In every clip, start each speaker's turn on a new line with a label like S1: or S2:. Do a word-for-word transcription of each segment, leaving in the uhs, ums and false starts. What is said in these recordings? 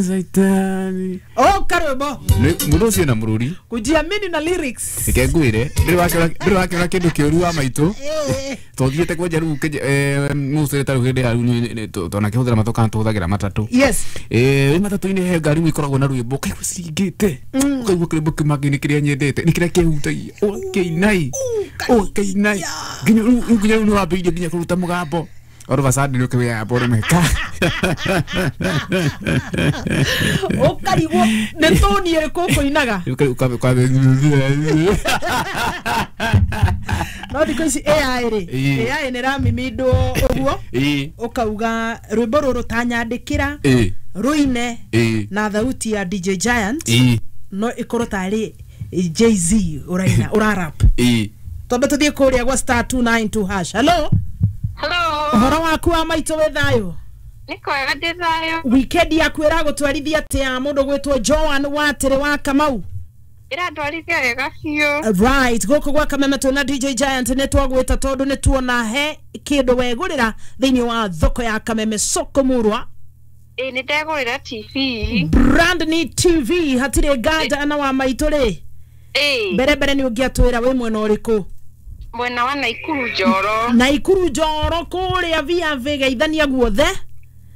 S1: Saitani.
S2: Oh, karwimbo.
S1: Mundu ucio na mururi.
S2: Kujiamini na lyrics.
S1: Reke ngwire, ndiri wakĩona ndiri wakĩona kĩndũ kĩũru wa maitũ. Tũthiĩte kwenja rĩu mũcere ta rĩu hĩndĩ ya rĩu tonakĩhũthĩra matũ kana tũhũthagĩra matatũ.
S2: Yes.
S1: Eh, wĩ matatũ-inĩ he ngari rĩu ikoragwo na rwĩmbo ũkaigua ciringĩte. Ũkaigua kĩrwĩmbo kĩu mangĩ kĩrĩa nyendete, nĩ kĩrĩa kĩhutagia. Ũkainai. Ũkainai. Nginya rĩu nginya rĩu nĩwambĩrĩirie nginya kũruta mũgambo. All of a sudden look where I bought my car.
S2: Ukarigwo nĩ toni ĩrĩkũ ũkũinaga? No thikũ ici A I rĩ, A I nĩ ĩramimindwo ũguo ũkauga rwĩmbo rũrũ tanyandĩkĩra rũine na thauti ya D J Giant no ĩkorwo tarĩ Jay-Z ũraina ũrarap. Twambe tũthiĩ kũrĩa gwa star two nine two hash. Hello.
S3: Hello.
S2: Ũhoro waku wa maitũ wĩ thayũ?
S3: Nĩ kwega ndĩ thayũ.
S2: Weekend yaku ĩragũtwarithia atĩa mũndũ gwĩtwo Joan Watĩrĩ wa Kamau?
S3: Ĩrandwarithia wega biũ.
S2: Right, gũkũ gwa Kameme twĩna D J Giant nĩ twagwĩta tondũ nĩ tuona he kĩndũ wegũrĩra thĩinĩ wa thoko ya Kameme soko murwa.
S3: Ĩ nĩ ndegũrĩra T V.
S2: Brand new T V hatirĩ nganja na wa maitũ rĩ.
S3: Ĩ.
S2: Mbere mbere nĩ ũngĩatwĩra wĩ mwena ũrĩkũ?
S3: Mwena wa Naikuru Njoro.
S2: Naikuru Njoro kũrĩa V V geithania guothe.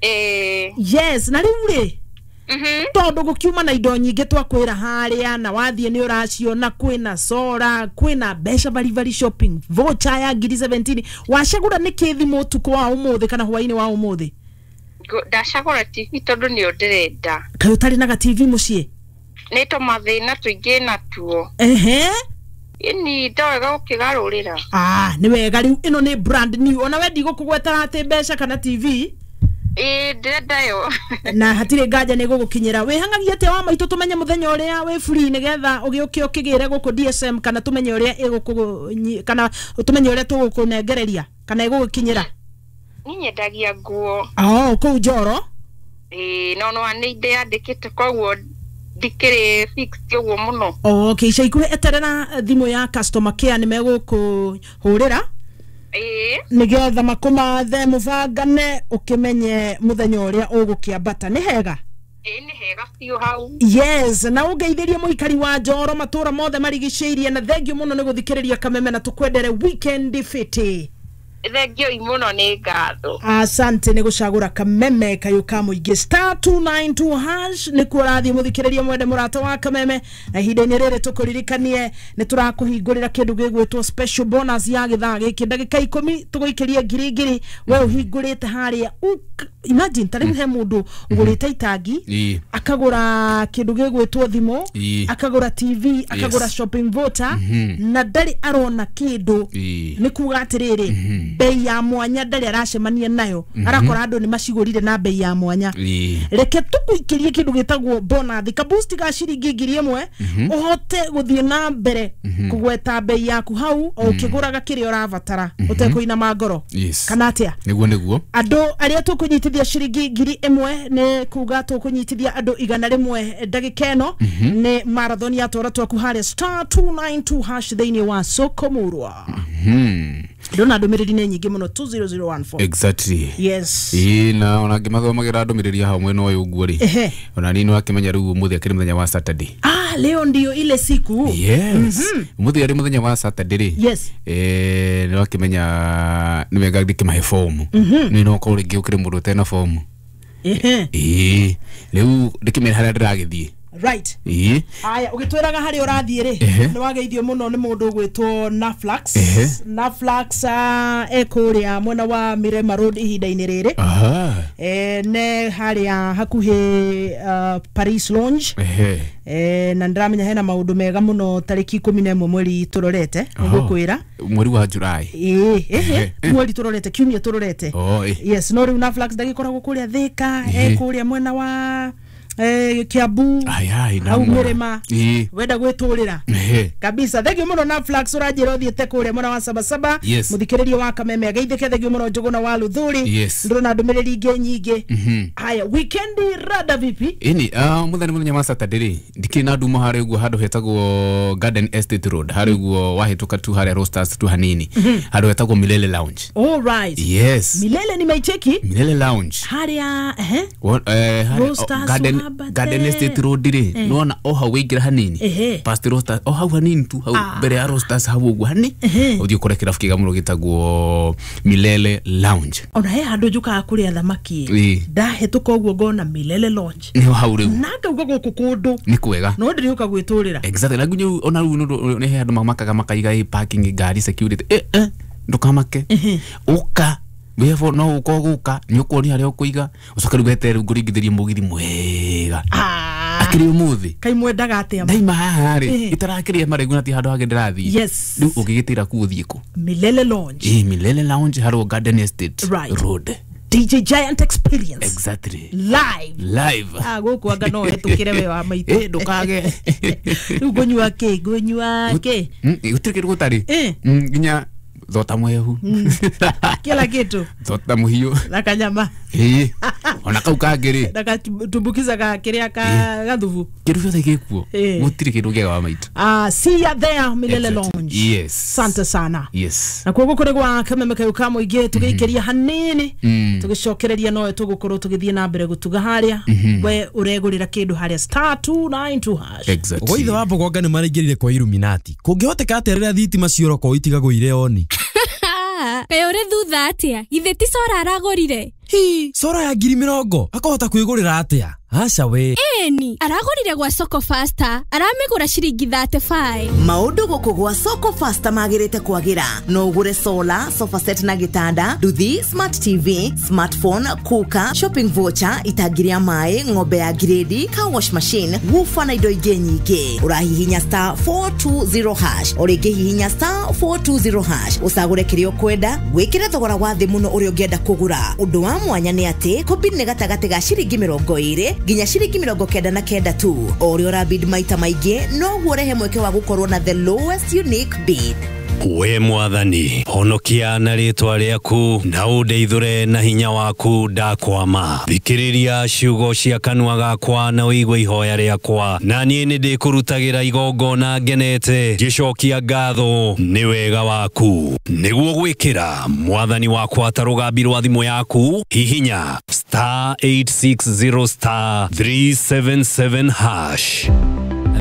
S3: Eh.
S2: Yes, na rĩu rĩ.
S3: Mhm.
S2: Tondũ gũkiuma na indo nyingĩ twakwĩra harĩa na wathiĩ nĩ ũraciona kwĩna sora, kwĩna mbeca baribari shopping voucher ya ngiri seventeen. Wacagũra nĩ kĩ thimũ ũtukũ wa ũmũthĩ kana hwaĩ-inĩ wa ũmũthĩ?
S3: Ndacagũra T V tondũ nĩyo ndĩrenda.
S2: Kaĩ ũtarĩ na ga T V mũciĩ?
S3: Nĩ tũmathĩna tũingĩ natuo.
S2: Ehe.
S3: Ini ndowega gũkĩgarũrĩra.
S2: Ah, nĩ wega rĩu ĩno nĩ brand new. Ona we ndigũkũgwetera atĩ mbeca kana T V.
S3: Ĩ ndĩrenda yo.
S2: Na hatirĩ nganja nĩ gũgũkinyĩra. Wĩhangagia atĩa wa maitũ tũmenye mũthenya ũrĩa wĩ free nĩgetha ũgĩũke ũkĩgĩre gũkũ D S M kana tũmenye ũrĩa ĩgũkũ kana tũmenye ũrĩa tũgũkũnengereria kana ĩgũgũkinyĩra?
S3: Niĩ nyendagia nguo.
S2: Oh, kũu Njoro?
S3: Ĩ no no nĩ ndĩyandĩkĩte koguo ndikĩrĩ fixed ũguo mũno.
S2: Okay, ica ikuhĩ eterera thimũ ya customer care nĩ megũkũhũrĩra.
S3: Ĩĩ.
S2: Nĩgetha makũmathe mũbangane ũkĩmenye mũthenya ũrĩa ũgũkĩambata. Nĩ hega?
S3: Ĩĩ nĩ hega biũ hau.
S2: Yes, na ũngeithĩrie mũikari wa Njoro matũra mothe marigicĩirie na thengiũ mũno nĩ gũthikĩrĩria Kameme na tũkwendere weekend fiti.
S3: Thengiũ mũno nĩ ngatho.
S2: Asante nĩ gũcagũra Kameme kayũ ka mũingĩ. Star two nine two hash nĩkuo ũrathiĩ mũthikĩrĩria mwende mũrata wa Kameme na ihinda-inĩ rĩrĩ tũkũririkanie nĩ tũrakũhingũrĩra kĩndũ gĩgwĩtwo special bonus ya gĩthaa gĩkĩ ndagĩka ikũmi tũgũikĩrie ngiri ngiri we ũhingũrĩte harĩa. Imagine ta rĩu he mũndũ ũgũrĩte itangi akagũra kĩndũ gĩgwĩtwo thimũ akagũra T V akagũra shopping voucher na ndarĩ arona kĩndũ. Nĩ kuga atĩrĩrĩ bei ya mwanya ndarĩ aracemania nayo arakora andũ nĩ macigũrire na bei ya mwanya. Reke tũgũikĩrie kĩndũ gĩtagwo bonus ka boost ga ciringi ngiri ĩmwe ũhote gũthiĩ na mbere kũgweta bei yaku hau o ũkĩgũraga kĩrĩa ũrabatara ũtekũinama ngoro. Kana atĩa?
S1: Nĩguo nĩguo.
S2: Andũ arĩa tũkũnyitithia ciringi ngiri ĩmwe nĩ kuga tũkũnyitithia andũ igana rĩmwe ndagĩka ĩno nĩ marathon ya twara twaku harĩa star two nine two hash thĩinĩ wa soko murwa. Ndona ndũmĩrĩri nĩ nyingĩ mũno two zero zero one four.
S1: Exactly.
S2: Yes.
S1: Ĩ na ona ngĩmathomagira ndũmĩrĩri hau mwena ũyũ ũguo rĩ. Ona niĩ nĩwakĩmenya rĩu ũmũthĩ akĩrĩ mũthenya wa Saturday.
S2: Ah, leo ndio ile siku.
S1: Yes. Ũmũthĩ arĩ mũthenya wa Saturday rĩ.
S2: Yes.
S1: Eh, nĩwakĩmenya nĩ wega ndĩkĩmahe fomu. Nĩ no ũkorwo rĩngĩ ũkĩrĩ mũndũ ũtena fomu.
S2: Ehe.
S1: Ĩ rĩu ndĩkĩmenya harĩa ndĩragĩthiĩ.
S2: Right.
S1: Ĩ.
S2: Aya, ũgĩtwĩraga harĩa ũrathiĩ rĩ, nĩ wageithio mũno nĩ mũndũ ũgwĩtwo Naflax. Naflax e kũrĩa mwena wa Mirema Road ihinda-inĩ rĩrĩ.
S1: Aha.
S2: Eh, ne harĩa hakuhĩ Paris Lounge.
S1: Ehe.
S2: Eh, na ndĩramenya hena maũndũ mega mũno tarĩki ikũmi na ĩmwe mweri tũrorete, ngũkwĩra.
S1: Mweri wa July.
S2: Ĩ, ehe, mweri tũrorete, kiumia tũrorete.
S1: Oh, ĩ.
S2: Yes, no rĩu Naflax ndagĩkoragwo kũrĩa Thĩka, e kũrĩa mwena wa eh Kiambu au Mirema wenda gwitũrĩra kabisa. Thengiũ mũno na Flax ũranjĩra ũthiĩte kũrĩa mwena wa Sabasaba. Mũthikĩrĩria wa Kameme ageithĩke. Thengiũ mũno Njũgũna wa Luthuri. Ndĩrona ndũmĩrĩri ingĩ nyingĩ. Haya, weekend rada vipi?
S1: Ini ah mũthenya mũthenya wa Saturday rĩ ndikĩrĩ na nduma harĩa ũguo handũ hetagwo Garden Estate Road harĩa ũguo wahĩtũka tu harĩa Roasters tu hanini handũ hetagwo Milele Lounge.
S2: All right.
S1: Yes.
S2: Milele nimeicheki.
S1: Milele Lounge
S2: harĩa eh
S1: eh Garden
S2: Wambate.
S1: Garden Estate Road rĩ nĩwona o hau wĩingĩra hanini past Rosters o hau hanini tu hau mbere ya Rosters hau ũguo hani ũthiĩ ũkore kĩrabu kĩega mũno gĩtagwo Milele Lounge.
S2: Ona he handũ njũkaga kũrĩa thamaki ndahĩtũka ũguo ngona Milele Lounge
S1: nĩho hau rĩu
S2: na ngauga gũkũ kũndũ
S1: nĩ kwega
S2: no ndĩrĩũka gwĩtũrĩra.
S1: Exactly na nginya ona rĩu nĩ he andũ mamakaga makaiga ĩ parking ngari security eh eh ndũkamake ũka wefo no uko guka ni ukuoni haria ukuiga ucoke riu wetere nguringithirie mugithi mwega akiri umuthi
S2: kai mwendaga atia
S1: ndaima haha ri itarakiria maregu na ti handu hangi ndirathii.
S2: Yes
S1: riu ungigitira ku uthie ku
S2: Milele Lounge.
S1: Eh Milele Lounge harwo Garden Estate
S2: right.
S1: Road.
S2: D J Giant Experience.
S1: Exactly.
S2: Live.
S1: Live.
S2: Ah guku anga no hetukire we wa maitu.
S1: Eh ndukage.
S2: Riu ngunyua ki ngunyua ki.
S1: Gutiri kindu gutari. Nginya thota mwehu.
S2: Kila kitu.
S1: Thota muhiu.
S2: Na kanyama.
S1: Eh. Ona kau kangĩ
S2: na gatumbukiza ga kiria ka gathubu.
S1: Kindu giothe gikuo. Gutiri kindu kiega wa maitu.
S2: Ah see ya there Milele Lounge.
S1: Yes.
S2: Sante sana.
S1: Yes.
S2: Na koguo kuri gwa kameme kayu ka muingi tugiikeria hanini tugicokereria no tugukorwo tugithie na mbere gutuga haria we uregurira kindu haria star two nine two hash.
S1: Exactly.
S4: Goithe wa mbogonga ni maraingirire kwa Illuminati. Kungihoteka atia riria thitima cioroko itigagũire oni?
S5: Kaĩ ũrĩ thutha atĩa? Githĩ ti Sora aragũrire?
S4: Hi, Sora ya ngiri mĩrongo akahota kwĩgũrĩra atĩa? Aca we.
S5: Ĩni, aragũrire gwa Soko Faster, aramĩgũra ciringi thirty-five.
S6: Maũndũ gũkũ gwa Soko Faster magĩrĩte kwagĩra. No ũgũre solar, sofa set na gĩtanda, nduthi, smart T V, smartphone, cooker, shopping voucher, itangi rĩa maĩ, ng'ombe ya grade, car wash machine, woofer na indo ingĩ nyingĩ. Ũrahihinya star four two zero hash, o rĩngĩ hihinya star four two zero hash, ũcagũre kĩrĩa ũkwenda, wĩkĩre thogora wa thĩ mũno ũrĩa ũngĩenda kũgũra. Ũndũ wa mwanya nĩ atĩ kũbid nĩ gatagatĩ ga ciringi mĩrongo ĩrĩ nginya ciringi mĩrongo kenda na kenda tu. O ũrĩa ũrabid maita maingĩ noguo ũrehe mweke wa gũkorwo na the lowest unique bid.
S7: We mwathani honokia na rĩtwa rĩaku na ũndeithũre na hinya waku ndakwama. Thikĩrĩria ciugo cia kanua gakwa na ũigue ihoya rĩakwa, na niĩ nĩndĩkũrutagĩra igongona ngenete ngĩcokia ngatho nĩ wega waku. Nĩguo gwĩkĩra mwathani wakwa ta rũgambi rwa thimũ yaku, hihinya star eight six zero star three seven seven hash.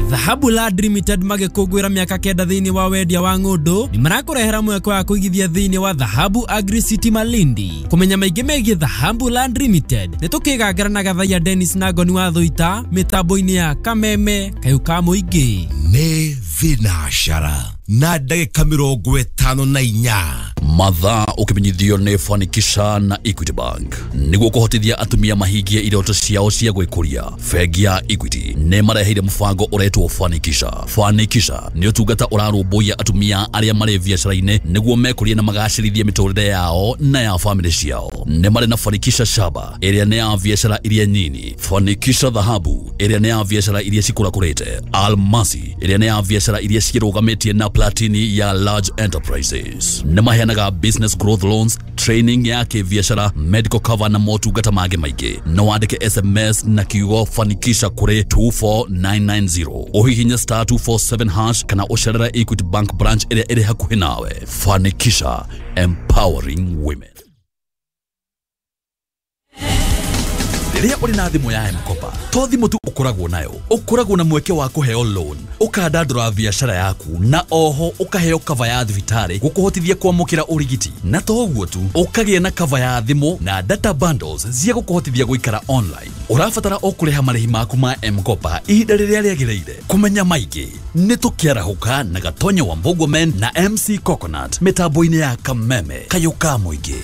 S4: Dhahabu Land Limited magĩkũngũĩra mĩaka kenda thĩinĩ wa wendia wa ng'ũndũ nĩ marakũrehera mweke wa kũigithia thĩinĩ wa Dhahabu Agri City Malindi. Kũmenya maingĩ megiĩ Dhahabu Land Limited nĩ tũkĩgangara na Gathaiya Dennis na Ngoni wa Thũita mĩtambo-inĩ ya Kameme Kayũ ka Mũingĩ.
S8: Nĩ thinacara na ndagĩka mĩrongo ĩtano na inya.
S9: Mathaa ũkĩmenyithio nĩ Fanikisha na Equity Bank nĩguo kũhotithia atumia mahingie iroto ciao cia gwĩkũria. Bengi ya Equity nĩ mareheire mũbango ũretwo Fanikisha. Fanikisha nĩ ũtungata ũrarũmbũiya atumia arĩa marĩ biacara-inĩ nĩguo mekũrie na magacĩrithie mĩtũrĩre yao na ya famĩlĩ ciao. Nĩ marĩ na Fanikisha Shaba ĩrĩa nĩ ya biacara iria nyini, Fanikisha Dhahabu ĩrĩa nĩ ya biacara iria cikũrakũrĩte, Almasi ĩrĩa nĩ ya biacara iria cirũgamĩtie na Platini ya large enterprises. Nĩ maheanaga business growth loans, training ya kĩbiacara, medical cover na motungata mangĩ maingĩ. No wandĩke S M S na kiugo Fanikisha kũrĩ two four nine nine zero. Ũhihinye star two four seven hash kana ũcerere Equity Bank branch ĩrĩa ĩrĩ hakuhĩ nawe. Fanikisha, empowering women. Rĩrĩa ũrĩ na thimũ ya M-Kopa, to thimũ tu ũkoragwo nayo, ũkoragwo na mweke wa kũheo loan, ũkandandũra biacara yaku, na oho ũkaheo cover ya thibitarĩ gũkũhotithia kwamũkĩra ũrigiti. Na to ũguo tu, ũkagĩa na cover ya thimũ na data bundles cia gũkũhotithia gũikara online. Ũrabatara o kũrĩha marĩhi maku ma M-Kopa ihinda rĩrĩa rĩagĩrĩire. Kũmenya maingĩ nĩ tũkĩarahũka na Gatonya wa Mbogwa Men na M C Coconut mĩtambo-inĩ ya Kameme Kayũ ka Mũingĩ.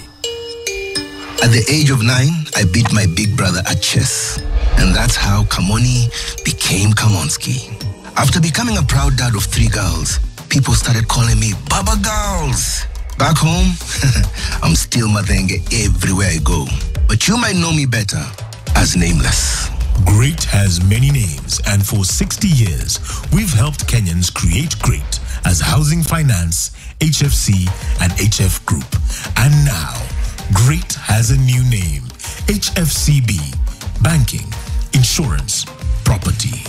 S10: At the age of nine, I beat my big brother at chess. And that's how Kamoni became Kamonski. After becoming a proud dad of three girls, people started calling me Baba Girls. Back home, I'm still Mathenge everywhere I go. But you might know me better as Nameless.
S11: Great has many names, and for sixty years, we've helped Kenyans create great as Housing Finance, H F C, and H F Group. And now, Great has a new name, H F C B, Banking, Insurance, Property.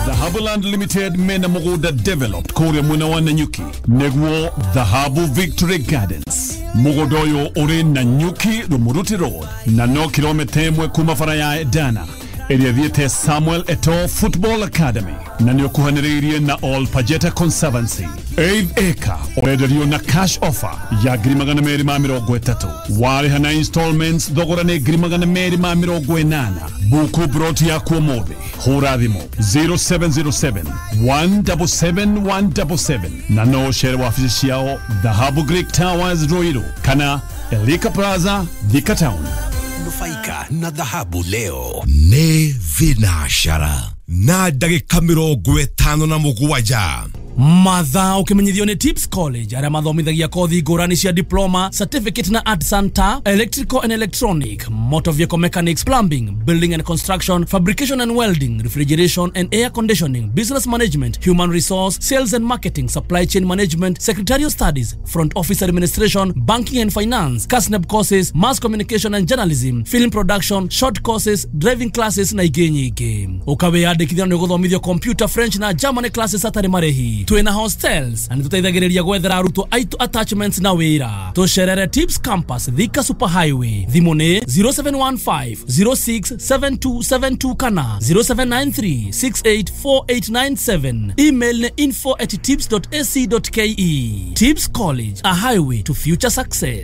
S12: Dhahabu Land Limited mena mũgũnda developed kũrĩa mwena wa Nanyuki nĩguo Dhahabu Victory Gardens. Mũgũnda ũyũ ũrĩ Nanyuki Rumuruti Road na no kilomita ĩmwe kuma bara ya Dana ĩrĩa ĩthiĩte Samuel Eto'o Football Academy na nĩ ũkuhanĩrĩirie na Ol Pajeta Conservancy. Eighth acre ũrenderio na cash offer ya ngiri magana merĩ ma mĩrongo ĩtatũ. Warĩha na installments thogora nĩ ngiri magana merĩ ma mĩrongo ĩnana. Buku broti yaku ũmũthĩ, hũra thimũ zero seven zero seven one seven seven one seven seven na no ũcere wabici ciao Dhahabu Greek Towers Ruiru kana Elika Plaza Thika Town.
S8: Nufaika na dhahabu leo. Nĩ thinashara na ndagĩka mĩrongo ĩtano na mũgwanja.
S4: Mathaa ũkĩmenyithio nĩ Tips College arĩa mathomithagia kothi ngũrani cia diploma, certificate na art center, electrical and electronic, motor vehicle mechanics, plumbing, building and construction, fabrication and welding, refrigeration and air conditioning, business management, human resource, sales and marketing, supply chain management, secretarial studies, front office administration, banking and finance, KASNEB courses, mass communication and journalism, film production, short courses, driving classes na ingĩ nyingĩ. Ũkawĩyandĩkithia na nĩũgũthomithio computer, French na German classes hatarĩ marĩhi. Twina hostels na nĩtũteithagĩrĩria gwethera arutwo aitũ attachments na wĩra. Tũcerere Tips Campus Thika Super Highway. Thimũ nĩ zero seven one five zero six seven two seven two kana zero seven nine three six eight four eight nine seven. Email nĩ info at tips dot a c dot k e. Tips College, a highway to future success.